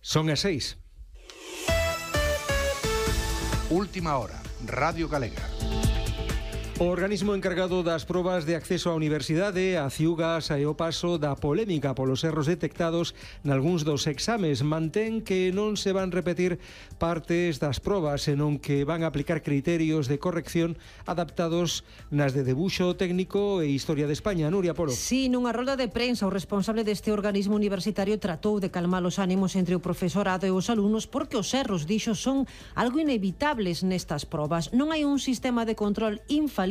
Son as 6. Última hora, Radio Galega. O organismo encargado das probas de acceso á universidade, a Ciuga, sae o paso da polémica polos erros detectados nalgúns dos exames. Mantén que non se van repetir partes das probas, senón que van a aplicar criterios de corrección adaptados nas de debuxo técnico e historia de España. Nuria Polo. Sí, nunha rolda de prensa, o responsable deste organismo universitario tratou de calmar os ánimos entre o profesorado e os alumnos porque os erros, dixo, son algo inevitables nestas probas. Non hai un sistema de control infalible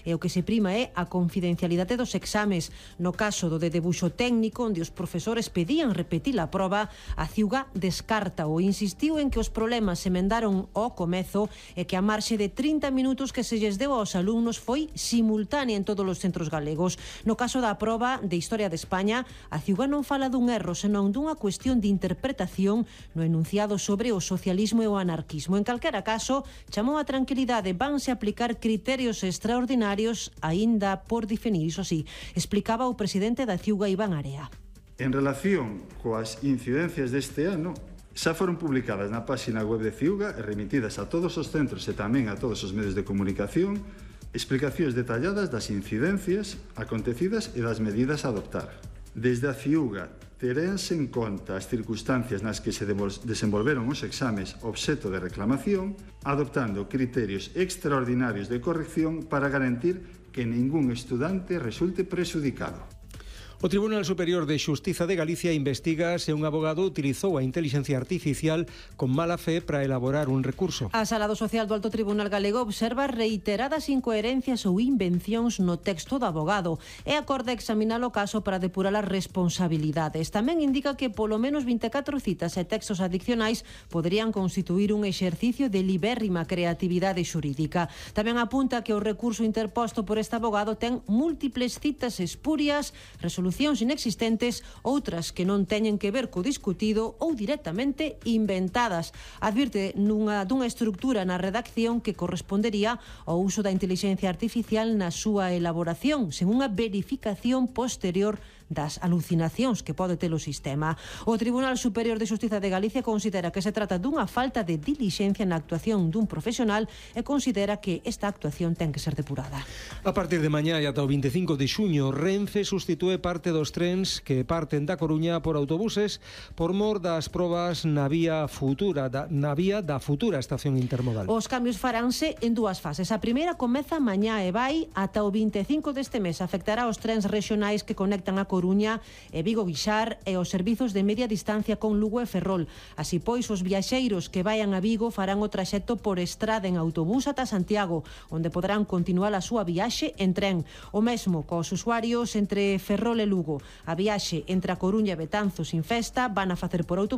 e o que se prima é a confidencialidade dos exames. No caso do de debuxo técnico, onde os profesores pedían repetir a proba, a Ciuga descarta ou insistiu en que os problemas se emendaron ao comezo e que a marxe de 30 minutos que se lles deu aos alumnos foi simultánea en todos os centros galegos. No caso da proba de Historia de España, a Ciuga non fala dun erro, senón dunha cuestión de interpretación no enunciado sobre o socialismo e o anarquismo. En calquera caso, chamou a tranquilidade, vanse aplicar criterios extraordinarios aínda por definir, iso sí, explicaba o presidente da Ciuga, Iván Area. En relación coas incidencias deste ano, xa foron publicadas na páxina web de Ciuga e remitidas a todos os centros e tamén a todos os medios de comunicación explicacións detalladas das incidencias acontecidas e das medidas a adoptar. Desde a Ciuga terense en conta as circunstancias nas que se desenvolveron os exames obxecto de reclamación, adoptando criterios extraordinarios de corrección para garantir que ningún estudante resulte prexudicado. O Tribunal Superior de Xustiza de Galicia investiga se un abogado utilizou a inteligencia artificial con mala fe para elaborar un recurso. A Sala do Social do Alto Tribunal Galego observa reiteradas incoherencias ou invencións no texto do abogado e acorda examinar o caso para depurar as responsabilidades. Tamén indica que polo menos 24 citas e textos adicionais poderían constituir un exercicio de libérrima creatividade xurídica. Tamén apunta que o recurso interposto por este abogado ten múltiples citas espurias, resolucións inexistentes, outras que non teñen que ver co discutido ou directamente inventadas. Advirte dunha estructura na redacción que correspondería ao uso da inteligencia artificial na súa elaboración, sen unha verificación posterior das alucinacións que pode ter o sistema. O Tribunal Superior de Xustiza de Galicia considera que se trata dunha falta de dilixencia na actuación dun profesional e considera que esta actuación ten que ser depurada. A partir de mañá e ata o 25 de xuño, Renfe sustitúe parte dos trens que parten da Coruña por autobuses por mor das probas na vía da futura estación intermodal. Os cambios faránse en dúas fases. A primeira comeza mañá e vai ata o 25 deste mes. Afectará os trens rexionais que conectan a Coruña e Vigo-Guixar e os servizos de media distancia con Lugo e Ferrol. Así pois, os viaxeiros que vayan a Vigo farán o traxecto por estrada en autobús ata Santiago, onde poderán continuar a súa viaxe en tren. O mesmo cos usuarios entre Ferrol e Lugo. A viaxe entre a Coruña e Betanzos sin festa van a facer por autobús